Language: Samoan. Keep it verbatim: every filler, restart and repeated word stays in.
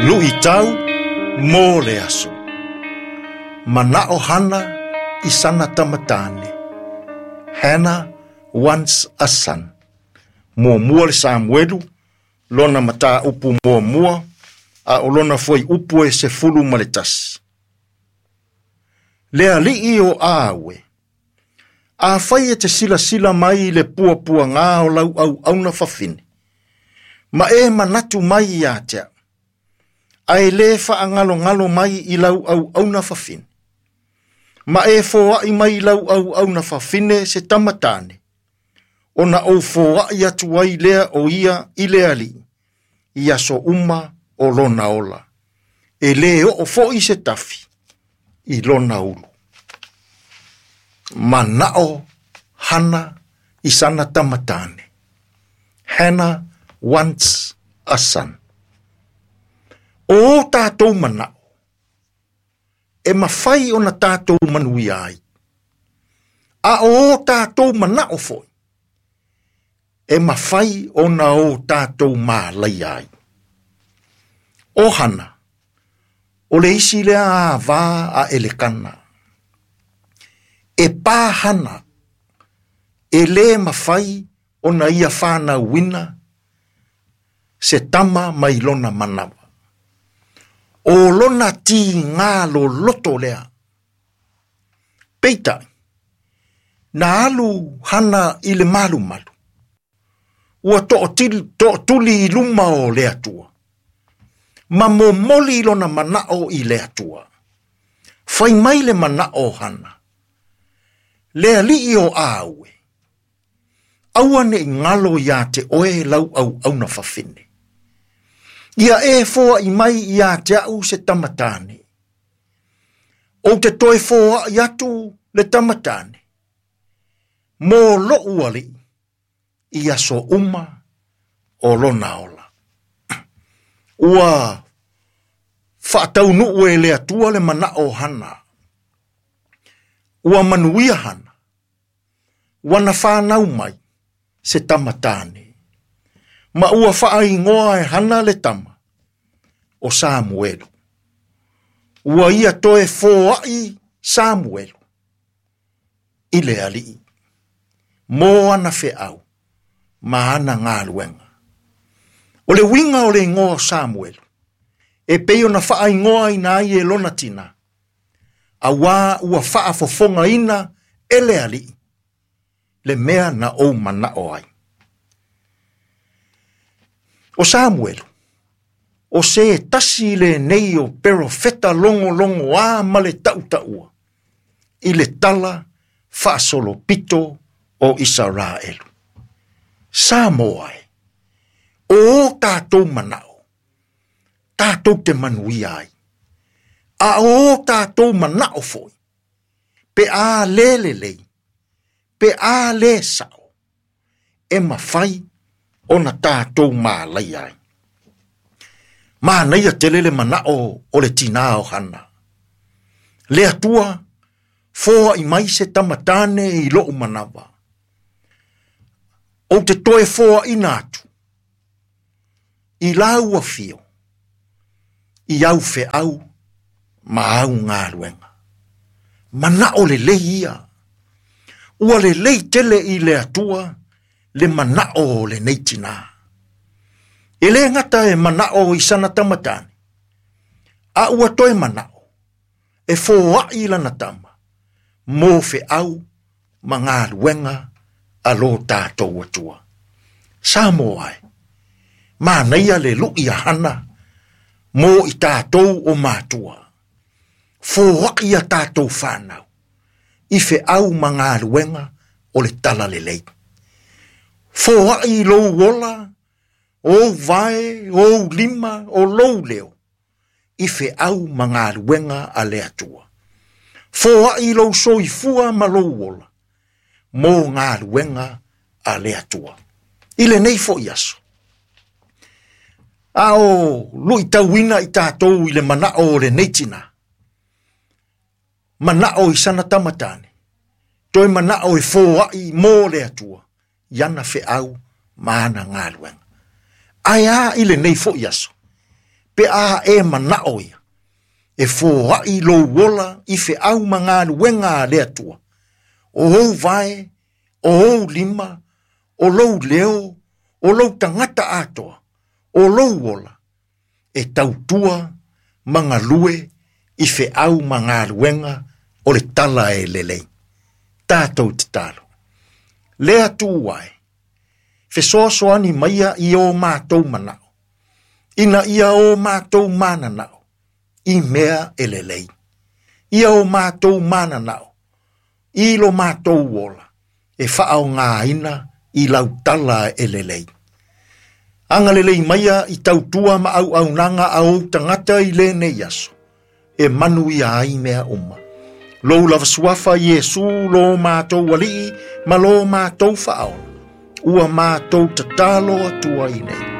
Luʻitau mo le aso. Manaʻo Hana i sana tamatane. Hannah wants a son. Muamua le Samuelu, lona mataupu muamua, a o lona fuaiupu e sefulu ma le tasi. Le alii o Awe. Afai e te silasila mai i le puapuagā o lau auauna fafine, ma e manatu mai ia te au, ae lē faagalogalo mai i lau auauna fafine, ma e foaʻi mai i lau auauna fafine se tamatane, ona ou foaʻi atu ai lea o ia i le alii, i aso uma o lona ola. E lē oo foʻi se tafi i lona ulu. Manaʻo Hana i sana tamatane. Hannah wants a son. O o tatou manaʻo, e mafai ona tatou manuia ai. A o o tatou manaʻo foʻi, e mafai ona o tatou malaia ai. O Hana, o le isi lea avā a Elekana. E pā Hana, e lē mafai ona ia fanauina se tama mai lona manawa. O lona tigā loloto lea. Peitai, na alu Hana i le malumalu. Ua toʻotuli i luma o le Atua. Ma momoli lona manaʻo i le Atua. Fai mai le manaʻo o Hana. Le alii o Awe. Aua neʻi galo iā te oe lau auauna fafine. Ia e foaʻi mai iā te aʻu se tamatane. Ou te toe foaʻi atu le tamatane. Mo loʻu alii i aso uma o lona ola. Ua faataunuu e le Atua le manaʻo o Hana. Ua manuia Hana. Ua na fanau mai se tamatane. Ma ua faaigoa e Hana le tama o Samuelu. Ua ia toe foaʻi Samuelu i le alii. Mo ana feʻau ma ana galuega. O le uiga o le igoa o Samuelu, e pei ona faaigoaina ai e lona tinā, auā ua faafofogaina e le alii le mea na ou manaʻo ai. O Samuelu, o se tasi lenei o perofeta logologoā ma le taʻutaʻua i le tala faasolopito o Isaraelu. Samoa e, o o tatou manaʻo, tatou te manuia ai. A o o tatou manaʻo foʻi, pe a lē lelei, pe a lē saʻo, e mafai ona tatou malaia ai. Manaia tele le manaʻo o le tinā o Hana. Le Atua, foaʻi mai se tamatane i loʻu manawa. Ou te toe foaʻina atu i lau afio, i au feʻau ma au galuega. Manaʻo lelei ia. Ua lelei tele i le Atua le manaʻo o lenei tinā. E lē gata e manaʻo i sana tamatane, a ua toe manaʻo e foaʻi lana tama mo feʻau ma galuega a lo tatou Atua. Samoa e, manaia le luʻi a Hana mo i tatou o matua. Foaʻi a tatou fanau i feʻau ma galuega o le talalelei. Foaʻi lou ola, ou vae, ou lima, o lou leo, i feʻau ma galuega a le Atua. Foaʻi lou soifua ma lou ola, mo galuega a le Atua. I lenei foʻi aso. A o luʻitauina i tatou i le manaʻo o lenei tinā. Manaʻo i sana tamatane. Toe manaʻo e foaʻi mo le Atua, i ana feʻau ma ana galuega. Ae a i lenei foʻi aso. Pe a e manao ia, e foai lou ola i feau ma galuega a le Atua. O ou vae, o ou lima, o lou leo, o lou tagata atoa, o lou ola, e tautua ma galue i feau ma galuega o le tala e lelei. Tatou tatalo. Le Atua e, fesoasoani maia i o matou manao, ina ia o matou mananao, i mea e lelei. Ia o matou mananao, i lo matou ola, e faaogaina i lau tala e lelei. Agalelei maia i tautua ma auaunaga a ou tagata i lenei aso, e manuia ai mea uma. Lou lava suafa Iesu lo matou alii ma lo matou faaola, ua matou tatalo atua i nei.